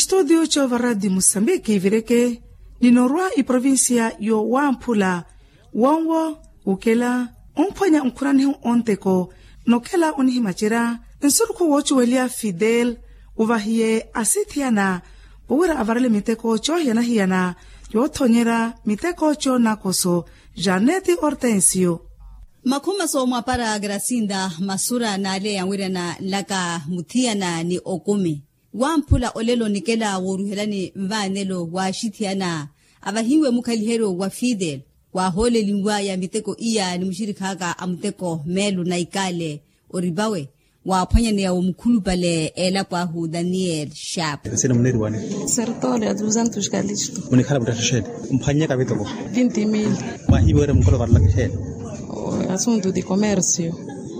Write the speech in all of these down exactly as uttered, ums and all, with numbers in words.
Studio coova radi musambiki vireke. Ninorwa iprovincia yo wamphula wonwo ukela omphwanya nkhuranihu onteko. Nokela onihimacerya nsurukhu wocuwelya fidel uvahiye asithiyana wowira avarele miteko cohiyana-hiyana yothonyerya miteko conakoso. Janeti hortensio. Makhuma soomwapara grasinda masura naaleya anwirana nlaka muthiyana ni okumi. Wamphula olelo nikela wooruhelani nvaanelo waaxithiyana avahiwe mukhaliheryo wa fidel. Waahoolelinwaya miteko iya ni muxirikhaka a muteko meelo na ikale oripawe. Waaphwanyaneya wo mukhulupale elapo ahu daniel sharp. Sina muneriwani? Sertole a dusantos kalisto. Munikhala muttatha xeeni? Mphwanyeka miteko vinti mil. Mwahiiwere mukholo varelaka xeeni? Asuntu di commercio.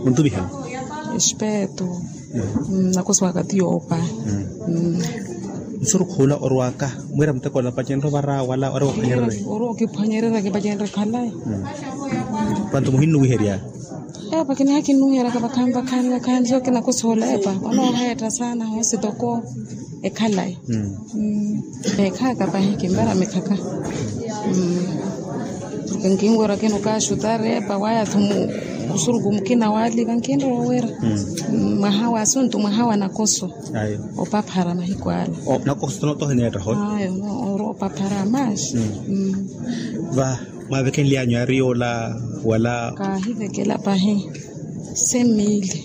Muntuvihela espeto. Nakoso wakati yoopa. Nsurukhu ula orwaka mwira muteko ola pacenre ovara wala ori waphwanyerere? Ori okiphwanyerera kipacenre khalayi. Pantu muhinnuwiherya. Epa kiniha kinnuwiheraka vakhaani vakhaani so kinakosola epa onooheetta saana hoosi toko. Ekhalayi. Ekhaka pahi kimbara mikhaka. Nkinwerya kino kaxutari epa waya thu musuruku mukina wali kankinrowa wira. Mwaha wa asuntu mwaha wa nakoso. Opaphara mahiku ala. Nakoso tohineetta hoyo. Ayo ori opaphara maxi. Va mwavekenlyanyu ari yoola wala? Kaahivekela pahi semili.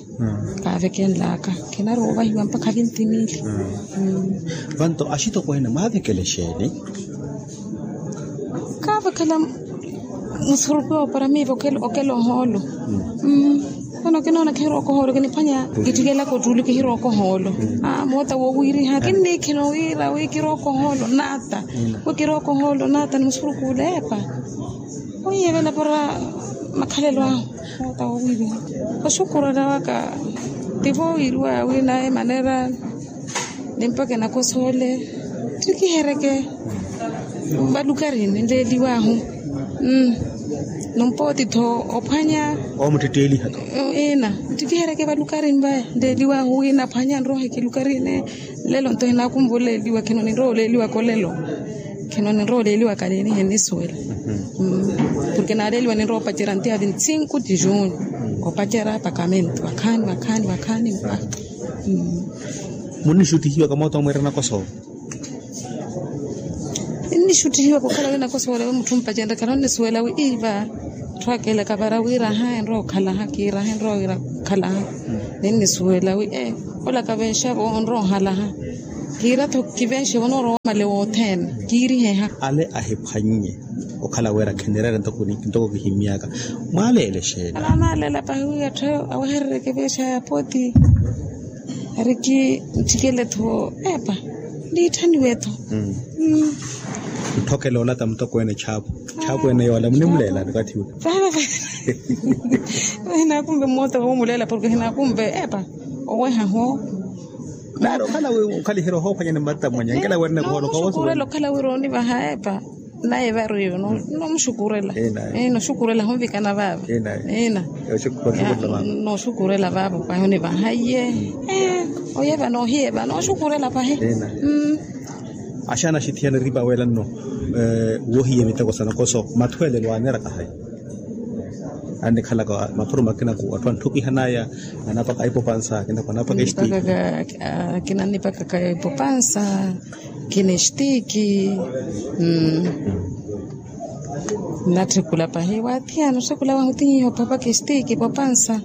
Kaavekenlaka. Khinarowa ovahiwa mpakha vinti mili. Vanto axitokweene mwaavekela exeeni? Kaavekela musuruku yoopara miiva okela ohoolo. Vano kinoona kihirooka ohoolo kiniphwanya kittikelaka ottuli kihirooka ohoolo. Moota woowiriha kinniikhina wira wi kirooka ohoolo naata. Wi kirooka ohoolo naata ni musuruku ule epa. Oiyevela para makhalelo ahu. Moota woowiriha oxukurela waka. Tivo wiriwa winaye manera. Ni mpaka enakosoole ttikihereke valukarini nleeliwahu. Numpooti tho ophwanya. Oomuttetteeliha tho. Ina ttikihereke valukarini vaya nleeliwahu wina aphwanya nrohe kilukarini. Lelo nto hinaakumva oleeliwa khino ninrowa oleeliwaka olelo. Khino ninrowa oleeliwaka niini hinnisuwela. Porke naaleeliwa ninrowa opacerya ntiya vinti sinku ti juni. Opacerya pakamento vakhaani vakhaani vakhaani. Munnixuttihiwaka moota omweerana koso? Ninnixuttihiwaka okhala wi nakoso wala wi mutthu ompacenrya khano nnisuwela wi iva. Atthu akeelaka vara wira aha enrowa okhalaha kiira aha enrowa wira okhalaha. Ninnisuwela wi e olaka veexavo onrowa ohalaha. Kiira tho kiveexevo onoorowa omale wothene kiiriheha. Ale ahiphwannye okhala wira khenereera ntoko kihimmyaka. Mwaaleela exeeni? Ala anaalela pahi wi atthu aweherereke veexa ya poti. Ari ki ntthikele tho epa. Niitthaniwe tho. Ntthokela olata mutokweene chaapu. Chaapu ene yoola munimuleelani okathi ule? Hinaakumve mmoota woomuleela porke hinaakumve epa. Owehaho. Naari okhala wi okhaliherya ohoophwanyani mmatta mwanya nkela werene koola okawosuwela okhala wira onivaha epa. Naye varu iwe noomuxukurela. Nooxukurela hunvikana vaava. Ina. Nooxukurela vaavo pahi onivaha iye. Oyeva noohiyeva nooxukurela pahi. Axaana axithiyana eripa weela nno. Wohiye miteko sa nakoso mathweelelo aaneraka hayi? Annikhalaka maphuru makina ku atthu anthukihanaya. Anapaka ipopansa akina ku anapaka estiki. Akina annipakaka ipopansa. Kina estiki. Natthikula pahi wathiyana otthikula wahu tinyiha ophapaka estiki popansa.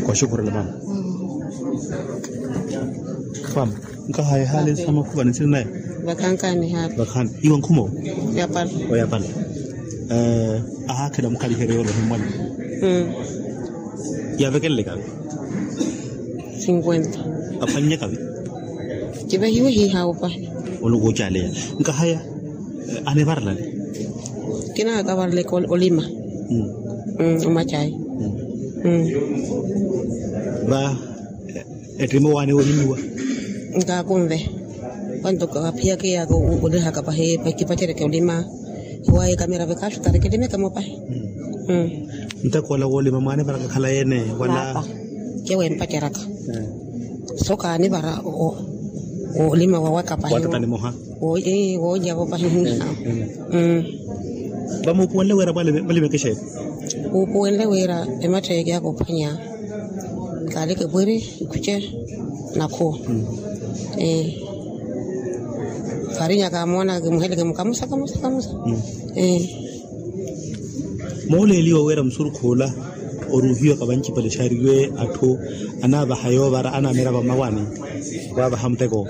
Kwaxukhurela mama. Mama nkahaya ehaali samakhuva nitsiri naye. Vakhankani haali vakhaani iwe nkhumo. Oyapala. Ahaakhela mukhaliheryo yoolohe mmwani. Yaavekelelekavi? Sinkuwenta. Aphwannyakavi? Kivahiwe hiihaawo pahi. Onukuucaleya nkahaya. Anivarelani? Kinaakavareleke olima. Omacayi. Va ettima owaani wohimiwa. Nkaakunve. Vanto kaphiyaka eyaka olihaka pahi kipacereke olima. Hiwaye kamera vekaaxutari kilimeke mopahi. Ntakoola woolima mwaanivaraka khala yeene wala? Kewempaceraka. So kaanivara. Woolima wawaka pahi. Woolya vo pahi. Vamuupuwenle wira mwalima ekexeeni. Uupuwenle wira emattha ekiyaaka ophwanya. Kaaleke pwiri ikhuce nakhuwa. Vaarinyaka amoona kimuheleke mukamusa kamusa kamusa. Mooleeliwa wira musurukhu ola oruuhiwaka vancipale xariwe atthu anaavaha yoovara anaamira vamawaani. Waavaha muteko.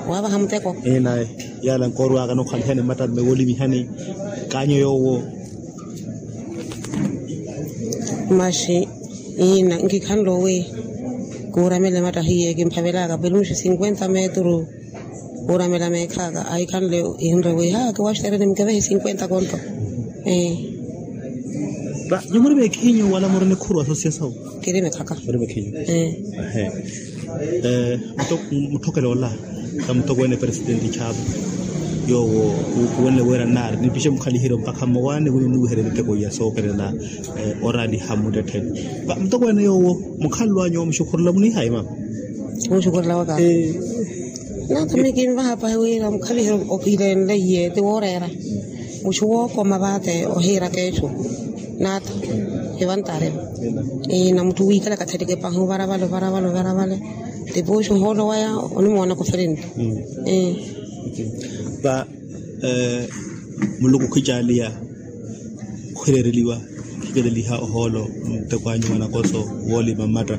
Waavaha muteko. Enaye. Yaala nkoorwaka nookhalihani mmattalume woolimihani. Kaanyo yoowo. Maxi ina nkikhanle owi. Kuuramela emattahiye kimphavelaka peluxi cinquenta metru. Kuuramela meekhaaka ahikhanle. Inre wi ha kiwaxitereni mukevehe cinquenta konto. Ee. Nyumuri meekhinyu wala muri nikhuru asosiyasawu. Kiri mekhaka. Muri meekhinyu. Ee. Mutthokele ola. Ka mutokweene presidenti chapo yoowo. Kuwenle wira nnaari nipixe mukhaliheryo mpakha mmawaani wini niwiherye miteko ya sookelela. Oraaliha mmuttettheni. Mutokweene yoowo mukhalelo anyu omuxukhurela muniihayi mama. Muxukhurela waka. Naata miyo kinvaha pahi wira mukhaliheryo okilenleiye ti wooreera. Muxu wookoma vaate ohiira keexu. Naata. Evantare. Na mutthu wiikala kathereke pahi ovaravale ovaravale ovaravale. Tipuxu ohoolo waya onimoona kofereni. Va muluku khicaaliya. Khwireereliwa khikeleliha ohoolo. Muteko anyu wanakoso woolima mmatta.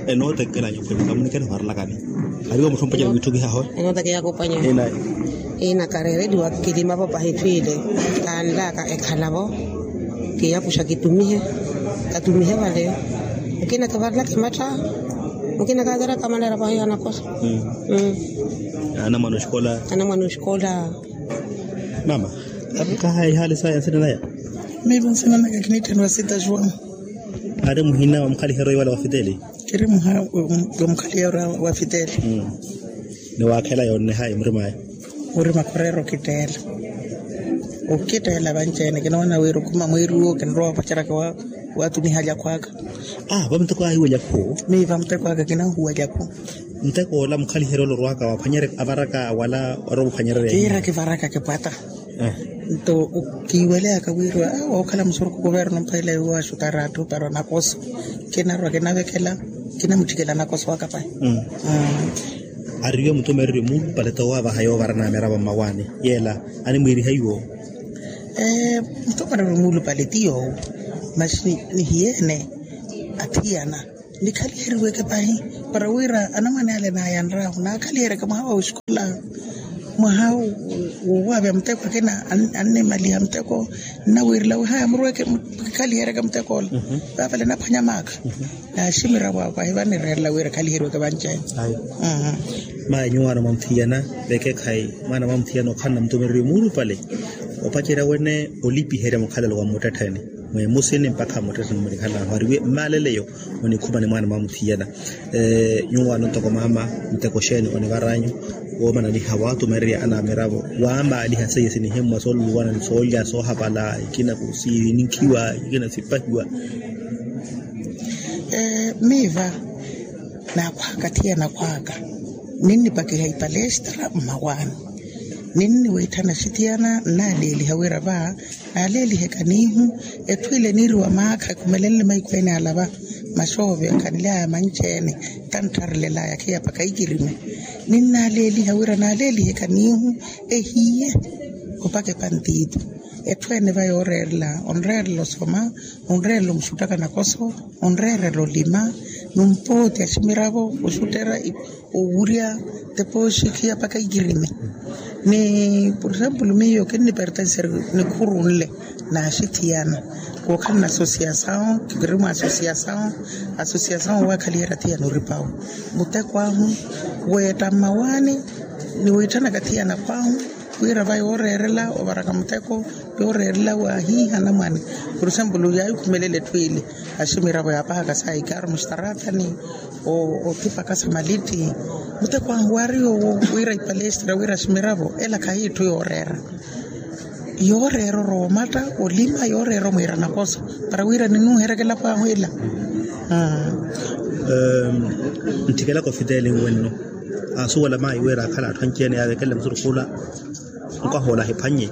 Enootekela anyu khwene kamunikela ovarelakani. Ariwo mutthu mpacela wiitthukiha aho. Enootekela yakopanyu. Ina kareereliwa kilimavo pahi twile. Kaanlaka ekhalavo. Kiyakuxa kitumihe. Katumihe vale. Mukina kivarelaka ematta. Mukina kaataraka manera pahi anakoso. Anamwana oxikola. Anamwana oxikola. Mama. Kahayi hali saya nsina naya. Mivo nsina naka kinitthenwa sita juan. Ari muhina wa mukhaliheryo iwala wa fiteli. Kiri muha wa mukhaliheryo wa fiteli. Ni waakhela yonnehayi murimayi. Murima khureera okitteela. Okitteela vanci-ene kinoona wira okhuma mweeri uwo kinrowa opaceraka. Waatuniha lyakhwaka. Vamuteko ahiwa lyakhu. Miva muteko aka kinahuwa lyakhu. Muteko ola mukhaliheryo olorwaka waphwanyerya avaraka wala orowa ophwanyererya kiira kivaraka kipwata. Nto kiiweleyaka wira wookhala musurukhu kuverno mphaila iwo axutara atthu para nakoso. Kinarwa kinavekela. Kinamutthikela nakoso waka pahi. Ariwe mutumereryo muulupale towaavaha yoovara namiravo mmawaani yeela animwiiriha iwo. Mutumereryo muulupale ti yoowo. Masi nihiyeene athiyana nikhaliheriweke pahi para wira anamwane ale naayanrahu naakhaliheriweke mwaha wa wixikola. Mwaha wowaavya muteko akina annimaliha muteko. Nnawiirela wi haya murweke. Kikhaliheryeke muteko ola. Vaavale naphwanya maakha. Naaximiravo ako ahivanireerela wira khaliheriweke vanci-ene. Mayi nyuwaano mwamuthiyana vekekhayi mwaana mwamuthiyana okhala namutumereriwe muulupale. Opacerya wene olipiherya mukhalelo wa mmuttettheni. Mweemusini mpakha mmuttettheni munikhalaahu ariwe mmaleleyo. Munikhumani mwaana mwamuthiyana. Nyuwaano ntoko mama muteko xeeni onivaranyu? Woomananiha waatumererya anamiravo waamaaliha seiye sinihimmwa sooluluwana ni soolya soohapala ikina kusiininkhiwa ikina sipahiwa. Miiva naakhwaaka thiyana khwaaka. Ninnipakiha ipalestra mmawaani. Ninniwiitthana axithiyana nnaaleeliha wira va naaleeliheka niihu. Etthu ile niiriwa maakha ekhumelenle mahiku ene ala va maxoove khanly'aya manci-ene. Tanttharelel'aya khiyapaka ikirime. Ninnaaleeliha wira naaleeliheka niihu ehiye opaka epantiitu. Etthu ene va yooreerela onreerela osoma onreerela omuxuttaka nakoso onreerela olima. Numpooti aximiravo oxutterya owurya tepooxi khiyapaka ikirime. Ni por exemplo miyo kinnipertenser nikhuru nle naaxithiyana. Kookhala na asosiyasawu kiri mwa asosiyasawu. Asosiyasawu waakhaliherya thiyana oripawu muteko ahu weetta mmawaani. Niwiitthanaka thiyana khwahu wira va yooreerela ovaraka muteko yooreerela waahiiha anamwane. Por exemplo yaayikhumelela etthu ile aximiravo yaapahaka saayikaaro muxitarathani othipaka samalitti. Muteko ahu waari yoowo wira ipalestra wira aximiravo ela khahi etthu yooreera. Yooreera oroomatta olima yooreera omwiira nakoso para wira ninuuheryaka elapo ahu ela. Ntthikela kofiteli nwenno. Ansuwela mayi wira akhala atthu anci-ene yaavekenle musurukhu ola. Nkwaha ola ahiphwannye.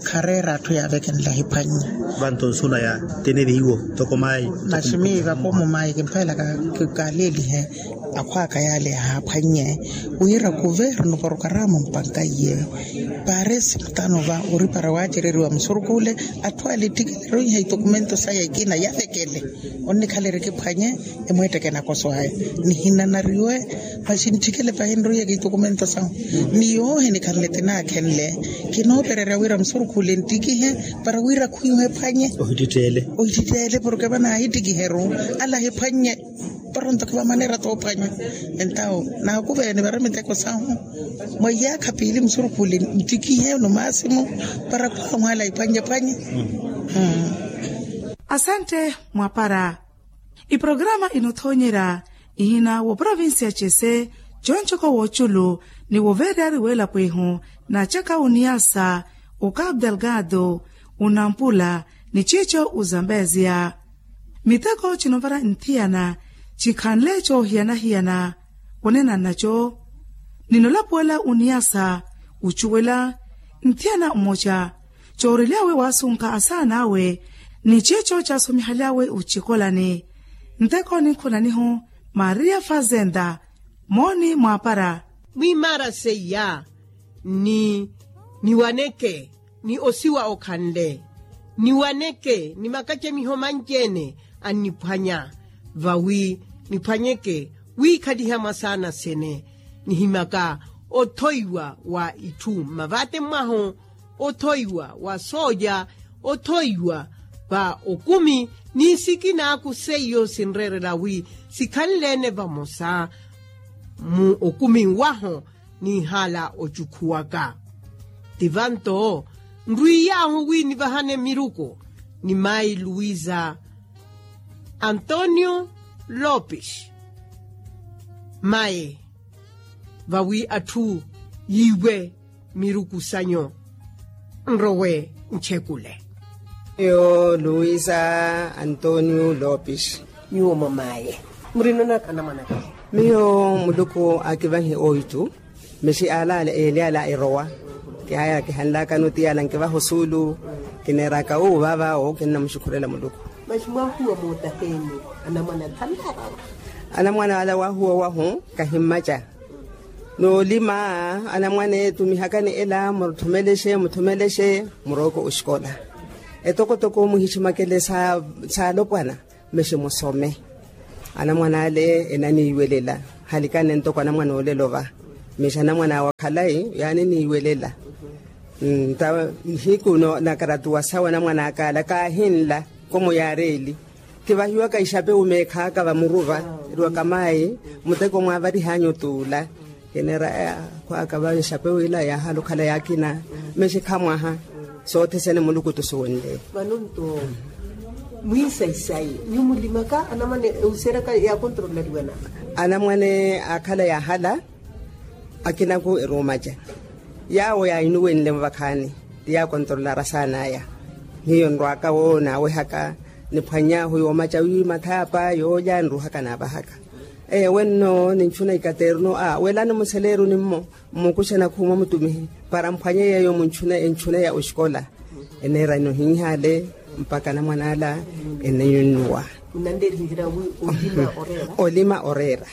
Khareera atthu yaavekenle ahiphwannye. Vanto nsuna ya tenerihiwo toko mayi. Masi miiva koomo mayi kimphelaka. Kaleelihe akhwaka yaale yaahaphwannye wira kuvernu porokaramu mpankaiye. Paresi mutano va oripara waacereriwa musurukhu ole. Atthu ale ettikile roiha itokumento saya ekina yavekele. Onnikhalerikiphwanye emweetteke nakoso aya. Nihinanariwe masi ntthikele pahi nroiyeke itokumento sahu. Ni yoohi nikhanle tinaakhenle. Kinoopererya wira musurukhule nttikihe para wira khwiihu ephwanye. Ohittittele. Ohittittele porke vana ahittikiheru. Ala ahiphwanye. Poronto khivamanera toophwanya. Entawo naakuveene vara miteko sahu. Mwa iyaakha piili musurukhule nttikihe nomaasimu. Para khwamwaala iphwanye phwanye. Asantte. Mwapara iporokaramu inothoonyerya ihina wa provincia cese. Conco ko woculu ni woveeryari welapo ihu na caka uniyasa ukapu delgado unampula ni cico uzambezia. Miteko cinovara nthiyana cikhanle coohiyana-hiyana. Onena nnaco ni nolapuwela uniyasa ucuwela nthiyana mmoca. Coorery'awe waasunka asaana awe ni cico caasomihaly'awe ocikolani. Nteko ninkhulanihu maria fazenda mooni mwaapara. Mwiimaara seiya ni niwaneke ni osiwa okhanle niwaneke ni makacemiho manci-ene anniphwanya vawi niphwanyeke wiikhaliha mwasaana sene. Nihimaka othoiwa wa itthu mmavaate mwahu othoiwa wa sooja othoiwa va okumi ni sikinaaku seiyo sinreerela wi sikhanle-ene vamosa mu okumi wahu. Niihaala ocukhuwaka ti vanto nrwiiy'ahu wi nivahane miruku ni mayi luwiza antonio lopes mayi vawi atthu yiiwe miruku sanyu nrowe nchekule. Miyo luisa antonio lopes. Nyuwo mamaye murinonaka anamwanaka? Miyo muluku akivahe oitu mexi ala ale eli ala erowa kihaya kihanlakano ti ala nkivaha osuulu kineeraka uwo vaavaawo kinnamuxukhurela muluku. Maxi mwahuwa mootaheni anamwana thanlaka? Anamwana ala wahuwa wahu kahimmaca noolima anamwana etumihakani ela mutthumelexe mutthumelexe murooko oxikola etokotoko muhiximakele saalopwana. Mexi musome anamwana ale enaniiwelela halikane ntoko anamwana olelo va mexi anamwana awe akhalayi yaaniniiwelela. Nta nihiku nakaratuwa sawe anamwana akala kaahinla komo yaareeli kivahiwaka ixapewu meekhaaka vamuruva eriwaka mayi muteko mwaavarih'anyu tuula. Kineera khwaaka va exapewu ila yaahala okhala yaakina mexi khamwaha soothesene muluku tusuwenle. Vano nto mwiisaisayi nyuwo mulimaka anamwane euseryaka yaakontrolariwa na anamwane aakhala yaahala akinaku eruumaca yaawo yaahinuwenle muvakhaani ti yaakontrolara saan'aya. Miyo nrwaka wo naawehaka niphwany'ahu yoomaca wi mathaapa yoolya nruhaka naavahaka. Ewe nno ninchuna ikaterno a welani museleeruni mmo mmukuxe nakhuuma mutumihi para mphwanye yeeyo munchuna enchuna ya oxikola. Eneera inohinhaale mpakha anamwan'ala eneyunnuwa. Olima oreera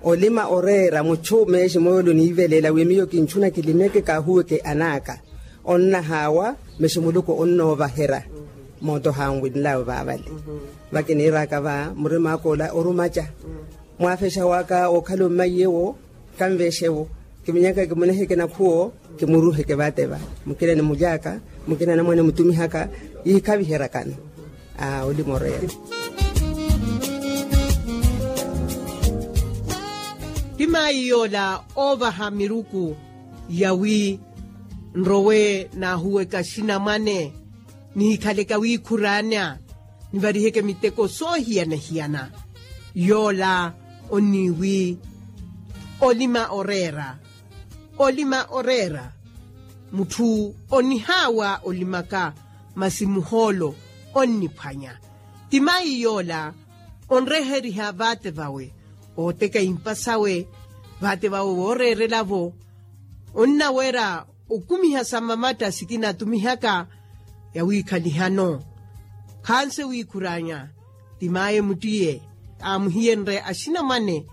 olima oreera muchu meexi moolo niivelela wi miyo kinchuna kilimeke kaahuweke anaaka onnahaawa mexi muluku onnoovaherya. Mooto hanwinlawe vaavale vakiniiraka va murimaaka ola orumaca mwaafexa waka okhala ommaiyewo kanvexewo kiminyaka kimuneheke nakhuwo kimuruheke vateva mukina nimulyaka mukina namwane mutumihaka yikhaviherakano. Aa olimoreya. Ti mayi yoola oovaha miruku yawi nrowe naahuweka xinamwane nihikhaleke awiikhuraana nivariheke miteko soohiyana-hiyana. Yoola onniiwi olima oreera olima oreera mutthu onihaawa olimaka masi muhoolo onniphwanya. Ti mayi yoola onreheriha vaate vawe ooteka impa sawe Vaate vawo wooreerela-vo onnawera okumiha sa mmamatta sikina atumihaka yawiikhalihano. Khanse wiikhuraanya ti maye muttiye aamuhiyenrye axinamwane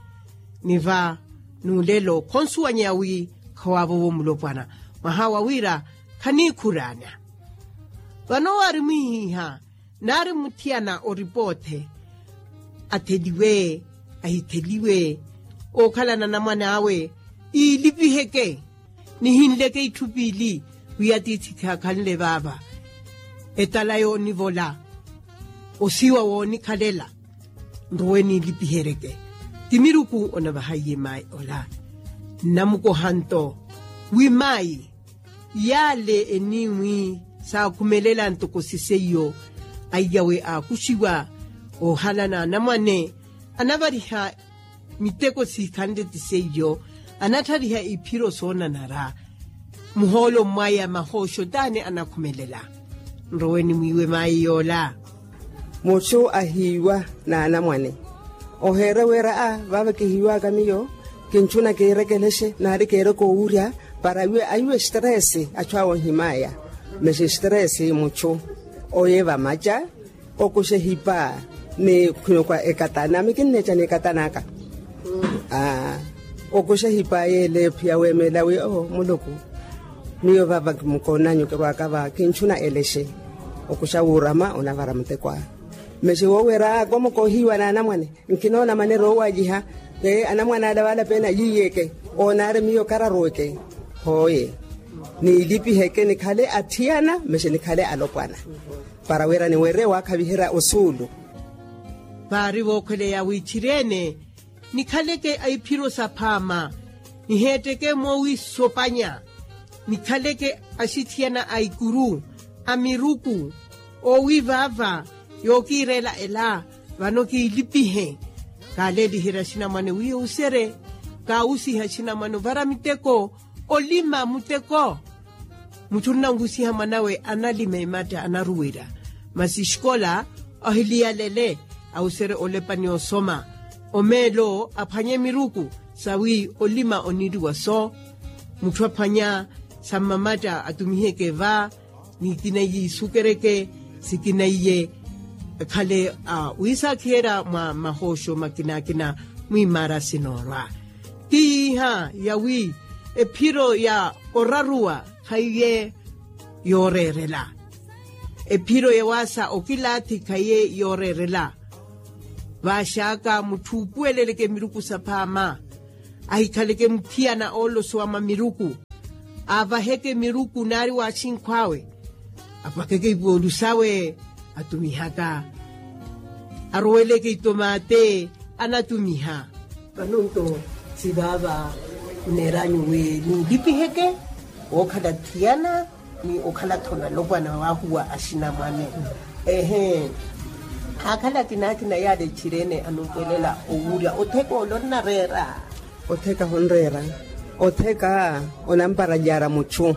ni va n'ulelo khonsuwanyeya wi khawaavovo mulopwana mwaha wa wira khaniikhuraanya. Vano waari mwihiiha naari muthiyana oripoothe atheliwe ahitheliwe ookhalana anamwane awe iilipiheke nihinleke itthu piili wi atiithi khakhanle vaava etala yoonivola osiwa woonikhalela nrowe niilipiheryeke ti miruku onavahaiye mayi ola nnamukoha nto wi mayi yaale eniwi saakhumelela ntoko siseiyo aiyawe aakuxiwa oohalana anamwane anavariha miteko sikhanle ti seiyo anatthariha iphiro soonanara muhoolo mmwaya mahooxo taani anakhumelela nrowe nimwiiwe mayi yoola muxu ahiiwa n'anamwane oheera wira a vaava kihiiwaka miyo kintthuna kiirekelexe naari kiireke owurya para ahiiwe estresi achu awo ohimaya mexe estresi muchu oye vamacha okuxa ehipa ni khunokwa ekatana mikinnecha ni ekatanaka okuxa ehipa yeele phiya weemela wi oo muluku miyo vava kimukonanyu kirwaka va kintthuna elexe okuxa wuurama onavara mutekwa mexe wowera akomo koohiiwa n'anamwane nkinoona manera oowaliha anamwane ala vaalapeene ayiiyeke oonaari miyo kararuweke hooye niilipiheke nikhale atthiyana mexe nikhale alopwana para wira niwerye waakhaviherya osuulu vaari vookhweleya wiichiri-ene nikhaleke aiphiro saphaama niheetteke moowisopanya nikhaleke axithiyana a ikuru a miruku oowi vaava yookiireela ela vano kiilipihe kaaleeliherya axinamwane wi ohuserye kaawusiha axinamwane ovara miteko olima muteko mutthu onnanwusiha mwanawe analima ematta anaruwerya masi exikola ohiliyalele awuserye olepani osoma omeelo aphwanye miruku sawi olima oniiriwa so mutthu aphwanya sa mmamatta atumiheke va ni ikina iye isukereke sikina iye ekhale a wiisakhiherya mwa mahooxo makinakina mwiimaara sinoorwa ti iha yawi ephiro ya oraruwa khaiye yooreerela ephiro ya waasa okilaathi khaiye yooreerela vaaxaka mutthu uupuweleleke miruku saphaama ahikhaleke muthiyana oolosowa mwa miruku aavaheke miruku naari waaxinkhw'awe apakeke ipoolu sawe atumihaka aroweleke itomate anatumiha vano nto si vaava khuneeranyu wi niilipiheke wookhala thiyana ni okhala-tho nalopwana waahuwa axinamwane ehe aakhala akina akina yaale etthiri-ene anumpelela owurya otheka ole onnareera otheka honreera otheka onamparalyaara muchu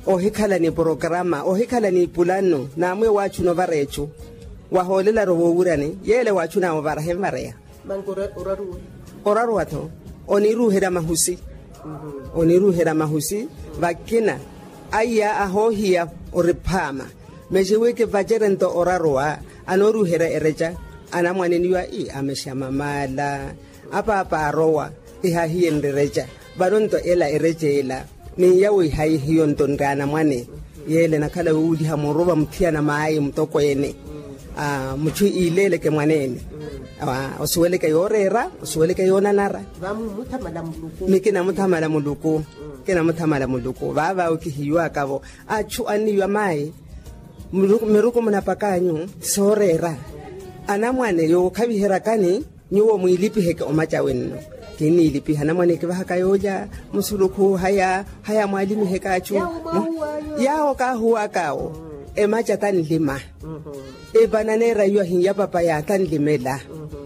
ohikhala ni porokarama ohikhala ni pulano naamwiya waachuna ovara echu wahoolelari owowuryani yeele waachunaya ovara henvareya oraruwa-tho oniiruuherya mahusi oniiruuherya mahusi vakina aiya ahoohiya oriphaama mexiwi kivacerento oraruwa anooruuherya ereca anamwaneniwa i amexa mamaala apaapa arowa ihahiyenrye ereca vano nto ela ereca ela ni yawo ihayi hiyo nto nri anamwane yeele nakhala wuuliha muruva muthiyana maayi mutokweene mutthu iileeleke mwaneene osuweleke yooreera osuweleke yoonanara mikinamuthamala muluku kinamuthamala muluku vaava okihiiwaka-vo achu anniiwa maayi miruku munapak'anyu sooreera anamwane yookhaviheryakani nyuwo mwiilipiheke omacawe nno kinniilipiha anamwane kivahaka yoolya musulukhu haya haya mwaalimiheke achu yaawo kaahuwak'awo emaca tanlima epananeera iyo ahinya papaya tanlimela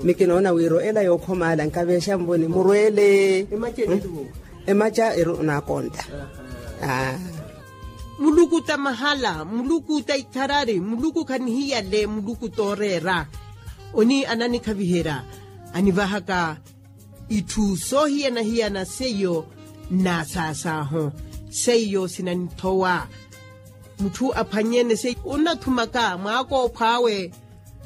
mikinoona wira ela yookhomaala nkaveexa nvoni murweele emaca eri onaakonta muluku ta mahala muluku ta ikharari muluku khanihiyale muluku tooreera oni ananikhaviherya anivahaka itthu soohiyana-hiyana seiyo nnaasaasahu. Seiyo sinanithowa. Mutthu aphwanyene seiyo onnathumaka mwaakoopho awe,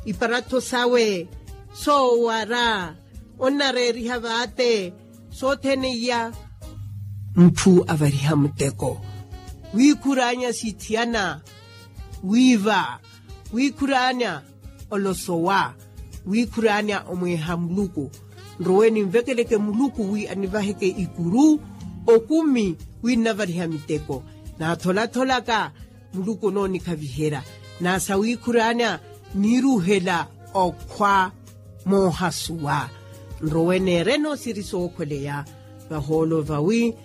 iparatho sawe, soowara, onnareeriha vaate, sothene iya. Mutthu avariha muteko wiikhuraanya sithiyana, wiiva, wiikhuraanya olosowa, wiikhuraanya omweeha muluku. Nrowe ninvekeleke muluku wi anivaheke ikuru, okumi, wi nnavariha miteko. Naatholatholaka muluku onoonikhaviherya. Naasa wiikhuraanya niiruhela okhwa moohasuwa. Nrowe neereno siri sookhweleya vahoolo vawi,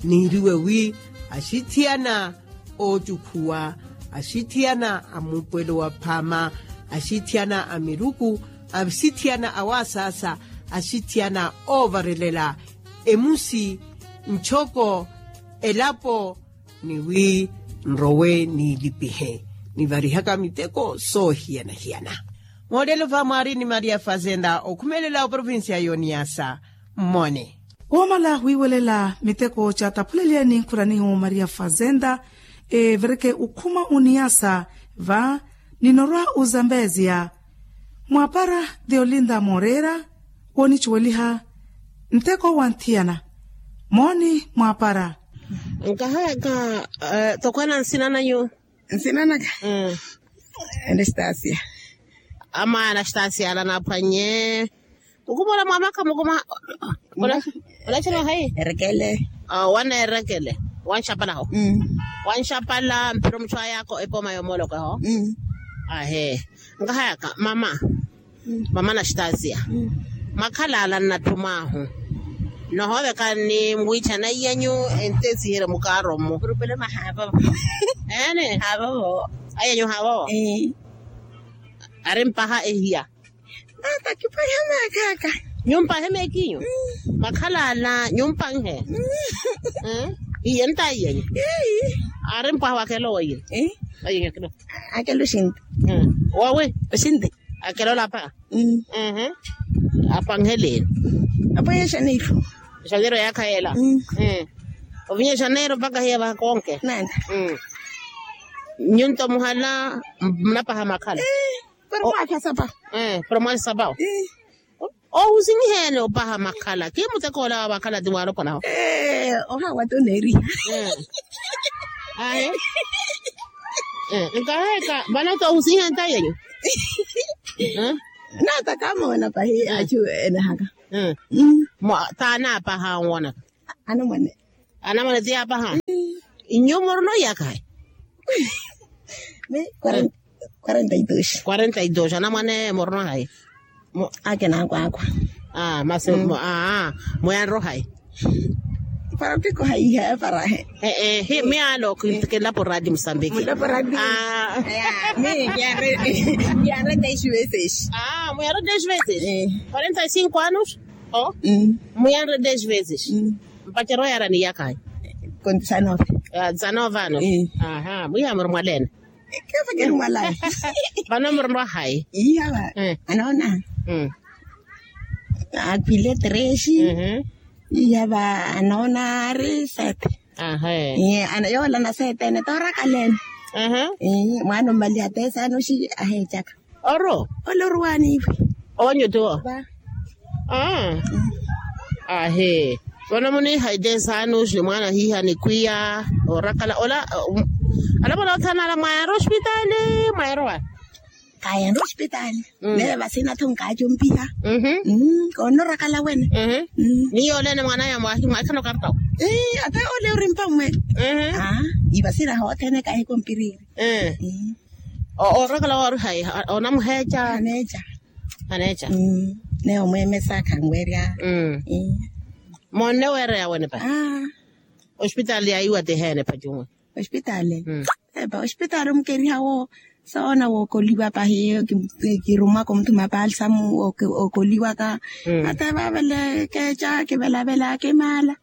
niiriwe wi axithiyana oocukhuwa, axithiyana a muupwelo wa phaama, axithiyana a miruku, axithiyana a waasaasa, axithiyana oovarelela emusi, nchoko, elapo, ni wi nrowe niilipihe nivarihaka miteko soohiyana-hiyana. Moolelo va mwaari ni maria fazenda okhumelela oprovincia y'oniyasa. Mmone. Woomala wiiwelela miteko caataphuleliyani nkhuranihu maria fazenda, evireke ukhuma uniyasa va ninorwa uzambeziya. Mwaapara theolinda mooreera woonicuweliha nteko wa nthiyana. Mooni mwaapara. Nkahayaka. Tokhwela nsina nanyu? Nsina naka anastasia. Ama anastasia ala naaphwanye. Mukumola mwamakha mukuma. Olacela hayi? Erekele. Waneerekele. Wanxapalaho. Wanxapala mpiro mutthu ayaka epoma yomoolokaho. Ahe. Nkahayaka mama. Mama anastasia. Mwakhala ala nnatthum'ahu nohoovekani mwiichana iyanyu. Entesiherye mukaaro mmu. Eene. Aiyanyu haavovo. Ari mpaha ehiya. Nata kipahe meekaka. Nyumpahe meekinyu. Mwakhala ala nyumpanhe. Iye nta iyanyu. Ari mpaha wakelo woyini. Aiyanyu akelo. Akelo oxinti. Wowi oxinti. Akelo olapa. Apanheleeni. Apanhe exaneiro. Exaneiro yaakha yela. Ovinya exaneiro mpakha hiya vakonke. Nana. Nyunto muhala munapaha makhala. Pero mwakha sapaho. Pero mwali sapaho. Ohusinyiheene opaha makhala ki muteko ola wa vakhala ti waaloponaho. Ohawa ti oneeriha. Ahe. Nkaheka vano ti ohusinyiheene ta yenyu. Nata kamoona pahi achu enehaka. Taanaapaha onwonaka. Anamwane. Anamwane ti yaapaha. Inyu murino iyaka hai? Mi quarenta y dos. Quarenta y dos anamwane murino hai? Ake naakwaakwa. Masi mwiyanro hai? Para piko haiha para he. Miyaalo kinlapo radi musambiki. Mwiyanre dez veces. Mwiyanre dez veces. Quarenta y cinco anos. Mwiyanre dez veces. Mpacero yaara ni iyaka hai? Con dezanove. Dezanove anos. Mwiha muri mwaleene. Vano murino hai? Iha va anoona. Akhwile tresi. Iha va anoona ari sete. Yoola na sete ene toorakaleene. Mwaana ommaliha te saana oxi aheecaka. Oro. Ole oruwaani iwe. Owanyu tiwo. Ahe. Vano muniihayi te saana oxi ni mwaana ahiiha nikwiya orakala ola. Alapona othana ala mwayanre ospitali mwayanre owaani? Kayanre ospitali. Neve vasina tho nkacumpiha. Koonnorakala wene. Ni yooleene mwaan'aya mwaahimwaahikana okartawo. Ata ole orimpa mmwe. Ivasira hothene kahi kompiriri. Orakala wori hayi? Onamuheeca. Aneeca. Aneeca. Neyo mweemesa khanwerya. Monne weereya wene pahi? Ospitali yaiwa ti heene pahi cumwe? Ospitali. Epa ospitali omukeriha wo soona wookoliwa pahi. Kirumwaka omuthuma palsamu. Ookoliwaka. Ata vaavele keeca kivelavela kimaala.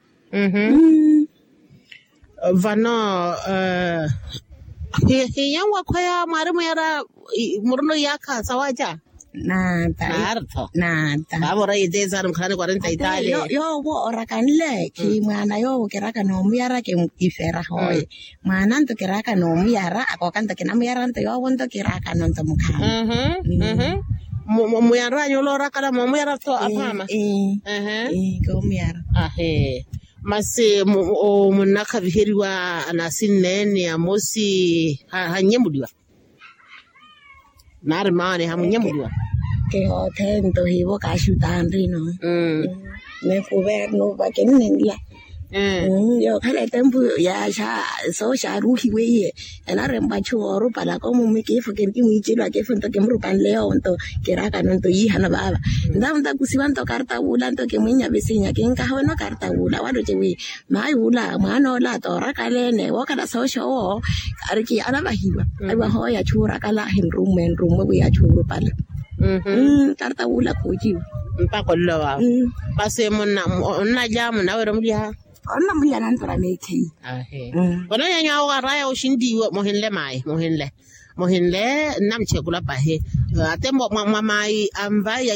Vano hiyanwakhweya mwaari mwiira murino iyaakha sawaaca. Naata. Naartho. Naata. Vaavo orayi eteesaari mukhalani quarenta itaali. Yoowo orakanle khimwaana yoowo kiraka noomuyara. Kifera hoye mwaananto kiraka noomuyara akookanto kinamuyaranto yoowonto kirakanonto mukhaana. Muyarwanyu oloorakala moomuyara tho aphaama. Koomuyara. Ahe. Masi munnakhaviheriwa anasinneene amosi hannyemuliwa? Naari maani hamunyemuliwa? Kihoothento hiivo kaaxutanrino. Nefuvernu vakinnenla. Yookhala etempu ya sooxaaru ohiweiye enarempwa achu oorupala koomumi kiifo kinkimwiicelo akiifo nto kimurupanle yoowo nto kiraakano nto yiihano vaava. Ntawo ntakusiwa nto karta wuula nto kimwiinya visinya kinkahoweno karta wuula waloce wi mayi wula mwaan'ola toorakaleene wookhala sooxowo. Ariki anavahiwa ahiwa hooya achuurakala ahinrummwe nrummwe wi achuurupala. Tarta wuula khuuciwa. Mpaka ollowa. Masi onnalya munawerya omulyaha? Onnamulyana ntura meekheyi. Ahe. Onanyanyu awo araya oxintiiwe muhinle mayi muhinle muhinle. Nnamuchekula pahi ate mwa mayi anvayi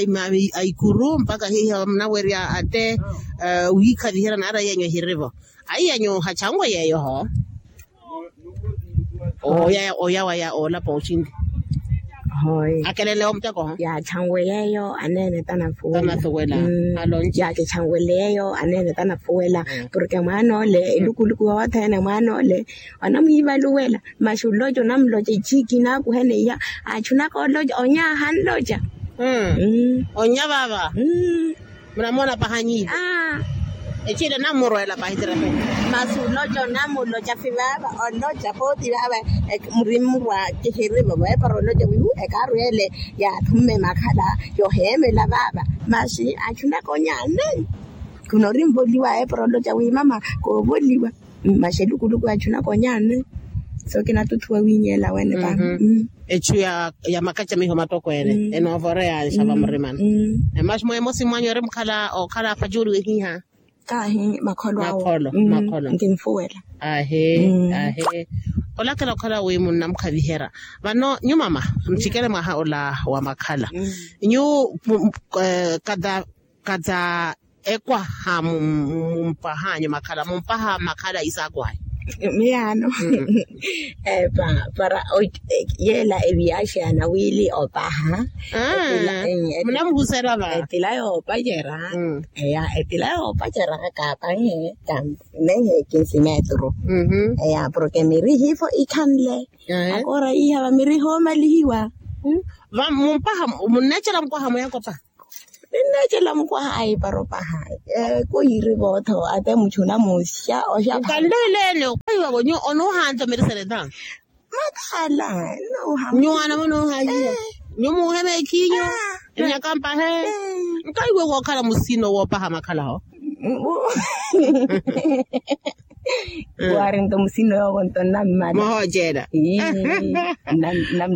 a ikuru mpaka hiiha munawerya ate wiikhaviherya naara yenyu ehirivo. Ayi yenyu hachanwe yeeyo ho. Oya waya oolapa oxinti. Akelele omuteko ho. Yaachanwe yeeyo aneene tanafuwela. Yakichanwele yeeyo aneene tanafuwela. Porke mwaan'ole elukuluku yothene mwaan'ole onamwiivaluwela. Masi oloca onamuloca eciiki naakuhene iya achunaka oloca onyaha nloca. Onya vaava. Munamoona paha nyiivo. Eciile namurweela pahi tirape. Masi oloca onamuloca fivaava oloca pooti vaava. Murimurwa kihirivo veepara oloca wihu ekaarwele yaathumme makhala yoheemela vaava. Masi achunaka onyaha nloca. Khuna orinvoliwa eepara oloca wi mama koovoliwa. Masi elukuluku achunaka onyaha nloca. So kinatuthuwa wiinyeela wene pahi. Echu ya makacamiho matokweene enoovoreya nxa vamurimana. Masi mweemosi mwanyu eri mukhala okhala afacuuliwe hiiha? Kaahi makholo awo. Makholo makholo. Nkinfuwela. Ahe. Ahe. Olakela okhala wi munnamukhaviherya vano nyu mama muchikele mwaha ola wa makhala nyu kata kata ekwaha mumpah'anyu makhala mumpaha makhala isaakuhayi? Miyaano. Para yeela eviyaxi anawiili opaha. Munamuhuserya va etila yoopacerya. Eya etila yoopacerya kaapanhe. Nehe kinsi metru. Eya porke miri hiifo ikhanle. Akoora iiha va miri hoomalihiwa. Va mumpaha munneecela mukwaha mweeko paha? Ninneecela mukwaha ayi para opaha. Kuyiiri vootho ate muchuna muxya oxya. Nkanleeleene okaiwavo nyu onuuhanto mirisereta. Makhala. Nyu wana munuuhanyiha. Nyu muuhe meekhinyu. Enyaka mpahe. Nkaiwe wookhala musino woopaha makhalaho. Waari nto musino yoovo nto nnammala. Muhooceela.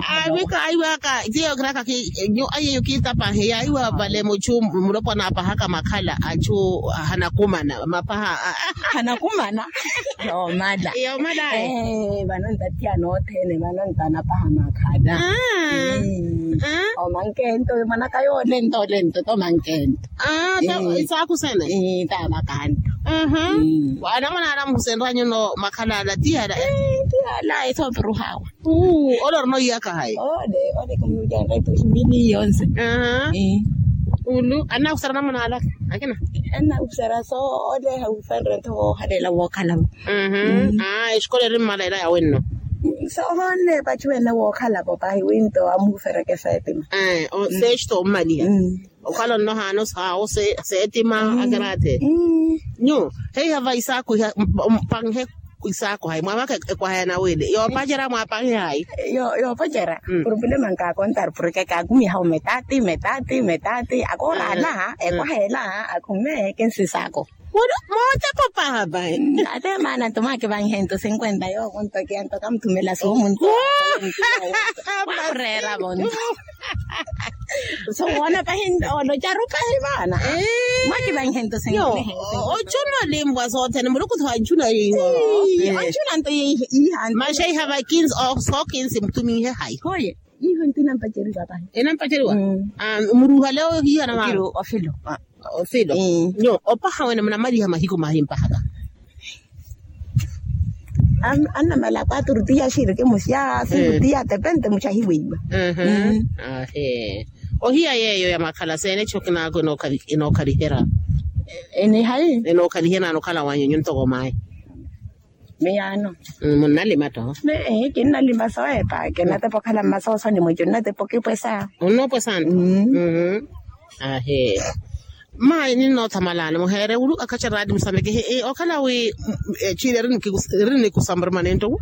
Aavika aiwaka tiyo kiraka nyu ayeyo kiitapahe yaiwa vale muchu mulopwana apahaka makhala achu hanakumana mapaha. Hanakumana. Yoomala. Yoomala. Vano ntathiyana othene vano ntanapaha makhala. Omankento mwanaka yoolento olento tomankento. Isaaku sene. Taavakanto. Anamwana anamusenryanyu no makhala ala tiyala. Tiyala esoopiruhawa. Ole orina oyiyaka hayi? Ole ole kumujanga etuxi mbili yonse. Ulu anakusera namuna ala akina? Anakusera so ole hauferre nto woohalela wookhalavo. Exikola eri mmala ela yawenno. Sohonne pachuwene wookhalavo pahi winto amuhufereke seetima. Sexto ommaliha. Okhala onnohaano saawo seetima. Akeraate nyu heiha va isaaku iha mpanhe. Isaaku hayi mwaamaka ekwaha ya nawili yoopacerya mwaapanhe hayi? Yoopacerya. Problema nkaakontaru porke kaakumiha ometati metati metati akoorana ekwaha ela. Akume kinsi isaaku. Mooteko paha pahi. Ate maana nto mwakivanhe nto sinkwenta yoovo nto kiya nto kamuthumela soomu nto. Mwakureeravo nto. So woona pahi olocaru pahi vaana. Mwakivanhe nto sinkwenta. Ochuna olimpwa sothene muluku tho anchuna yiiho. Anchuna nto yiiha. Maxa iha vakinsi sookinsi muthumihe hayi? Hoye. Iho nti nampaceriwa pahi. Enampaceriwa. Muruhale ohiha na mama. Ofilo. Ofilo. Nyo opaha wene munamaliha mahiku mahimpahaka? Annamala kwaturu tiya xiriki musya sirutiya tepente muchahiweiwa. Ohiya yeeyo ya makhala seenecho kinaako enookhalihera? Eni hayi? Enookhalihera nokhala wanyu nyu ntoko mayi? Miyaano. Munnalima to. Kinnalima sowepa kinatepa okhala mmasoosoni mweco nnatepa okipwesa. Onnoopwesa nto. Ahe. Mayi ninnoothamalaani muheere ulu akhacha raati musambeke okhala wi chili eri nikusambarumane nto.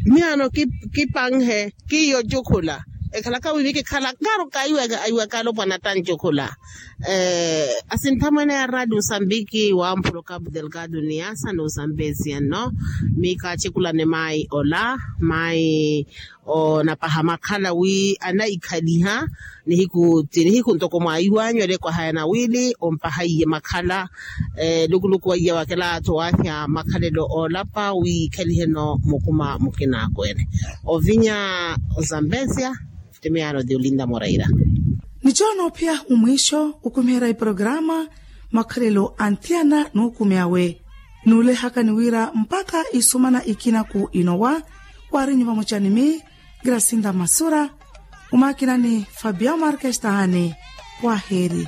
Miyaano kipanhe kiyo jukhula ekhalaka wiivi kikhala karu kaiweka aiweka alopwana tanjukhula. Asinthamwene ya raati musambiki wa mpuluka abdelgado ni yasa ni usambesiya nno. Miikaachekulane mayi ola mayi onapaha makhala wi anaikhaliha nihiku ti nihiku ntoko mwaiwanyu alekwaha yanawili ompaha iye makhala. Lukuluku wa iye wakela towafya makhalelo oolapa wi ikhaliheno mukuma mukinakwene ovinya ozambezia. Timiyaano ti olinda moreira. Nichoona ophiya omwiixo okumiherya iporokaraama makhalelo anthiyana n'ukumi awe. Nuulehaka ni wira mpakha isumana ikinaku inowa. Waarinyu vamochani mi grasinda masura. Omakinani fabia markestahani. Waaheri.